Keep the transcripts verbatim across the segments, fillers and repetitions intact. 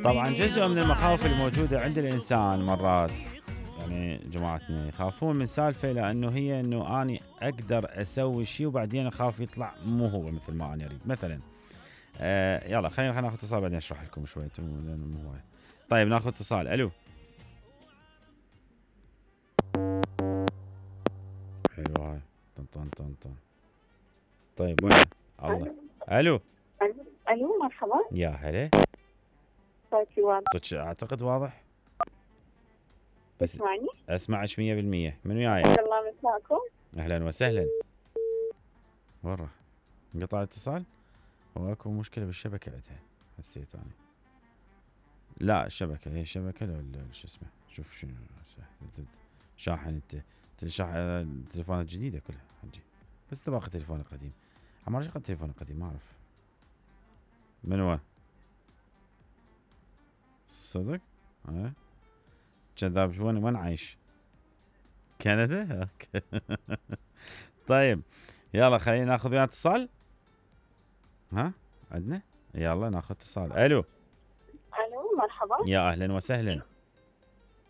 طبعا جزء من المخاوف الموجودة عند الإنسان مرات يعني جماعتنا يخافون من سالفة لأنه هي أنه أنا أقدر أسوي شيء وبعدين أخاف يطلع مو هو مثل ما أنا أريد مثلا. آه يلا خلينا خلينا ناخذ اتصال بعدين أشرح لكم شوية. طيب ناخذ اتصال. ألو. حلو هاي طن طن طن طن. طيب وين الله. ألو. ألو مرحبا. يا هلا. صوتي واضح؟ أعتقد واضح. بس تسمعني؟ أسمعك مية بالمية. من وياي؟ الله مساكم. أهلا وسهلا. ورا انقطع الاتصال. هو اكو مشكلة بالشبكة عندها حسيت أنا. لا الشبكة هي الشبكة ولا شو اسمه شوف شنو شاحن انت شاحن التليفونات الجديدة كلها حجي بس انت باخذ تليفون قديم. عمار شغل تليفون قديم ما اعرف من هو صدق. ها كذاب. وين وين عايش؟ كندا. اوكي. طيب يلا خلينا ناخذ وياه اتصال. ها عندنا يلا ناخذ اتصال. الو. الو مرحبا. يا اهلا وسهلا.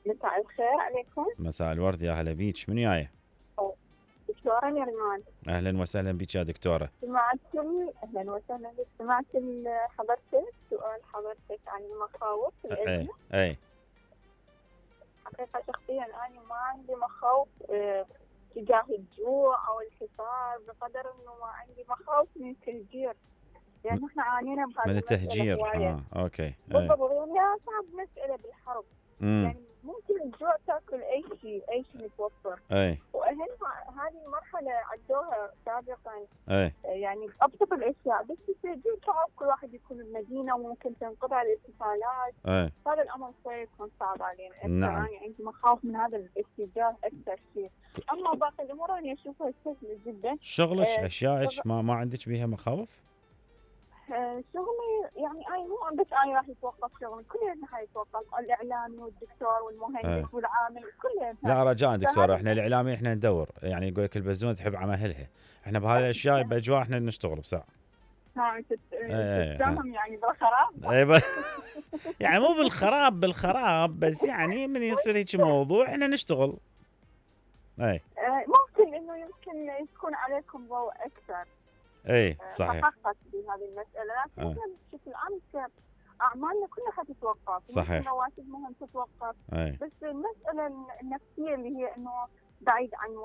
مساء الخير عليكم. مساء الورد يا هلا بيك. من وياي؟ دكتورة نرمان. اهلا وسهلا بك يا دكتورة. سمعت اهلا وسهلا بك. سمعت حضرتك سؤال حضرتك عن المخاوف اي اي. حقيقة شخصيا انا ما عندي مخاوف اه تجاه الجوع او الحصار بقدر انه ما عندي مخاوف من التهجير لان يعني احنا عانينا بهذا من التهجير. اه اوكي. بالضبط. يعني صعب مسألة بالحرب. مم. يعني ممكن الجوع تاكل اي شيء اي شيء متوفر. اي. واهم هذه المرحله عدوها سابقا. اي. يعني ابسط الاشياء بس التهجير صعب كل واحد يكون بمدينه وممكن تنقطع الاتصالات. اي. هذا الامر شوي يكون صعب علينا. نعم. يعني عندي مخاوف من هذا الاتجاه اكثر شيء. اما باقي الامور انا اشوفها سهله جدا. شغلك آه اشيائك ما ما عندك بيها مخاوف؟ شغلي يعني اي مو بس انا راح يتوقف شغلي كلنا حيتوقف. الاعلامي والدكتور والمهندس أه. والعامل كلنا. لا رجاء دكتور احنا الاعلامي احنا ندور يعني يقول لك البزونه تحب عملها احنا بهذه الاشياء باجواء احنا نشتغل بساعه. ها تتهم يعني بالخراب. اي يعني مو بالخراب بالخراب بس يعني من يصير هيك موضوع احنا نشتغل. اي ممكن انه يمكن يكون عليكم ضوء اكثر. اي صحيح. فحقت بهذه المسألة لكن احنا بشكل عام اعمالنا كلها حتتوقف. صحيح. رواتبهم تتوقف. أي. بس المسألة النفسية اللي هي انه بعيد عن